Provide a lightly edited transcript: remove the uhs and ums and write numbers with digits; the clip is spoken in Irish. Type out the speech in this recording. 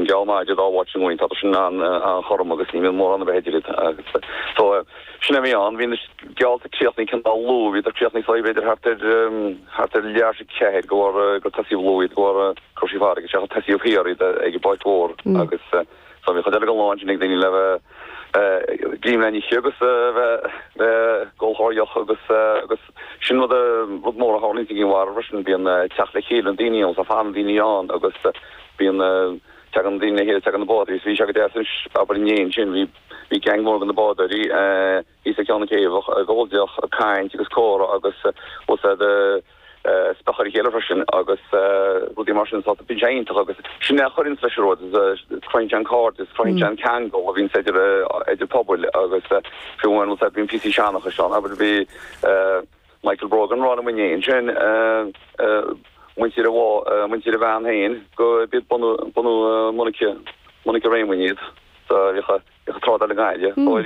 Bíonn geall maith idir dá bhád sin againn, tá sin an-chothrom agus ní bhíonn mórán ar bith idir iad agus so sin a bhí ann. Bhí na geallta críochnaithe cineál luath, bhíodar críochnaithe so b'fhéidir thart ar thart ar leathuair tar éis 4 go bhar gur tosaíodh luath iad go bhar go raibh sí farraige isteach tosaíodh thiar iad ag an bPáirc Mhór agus so bhí chuid eile den lá ansin ag daoine le bheith greim le n-ithe agus bheith ag ól deoch agus agus sin rud rud mór a tharlaíonn i gCinn Mhara freisin bíonn teacht le chéile na daoine ann so fanann daoine ann agus bíonn teagann daoine le chéile teagann na bádóirí so bhí sé go deas anois abair inné ansin bhí bhí gang mór de na bádóirí thíos ag ceann na céibhe ag ól deoch ag caint agus comhrá agus bhfuil siad speach ar a chéile freisin agus rudaí mar sin so bíonn sé iontach agus sin é a chuireanns leis an rud cruthaíonn sé an cairdeas, cruthaíonn sé an ceangal a bhíonns idir idir pobail agus fiú amháin bhfuil bíonn píosaí seanchais ann abair bhí Michael Brogan ag rá liom inné ansin muintir a muintir a bhean féin go b'iad bunadh bunadh Monica Monica Réamoinn iad so bhíodh bhíodh trádáil i nGaillimh.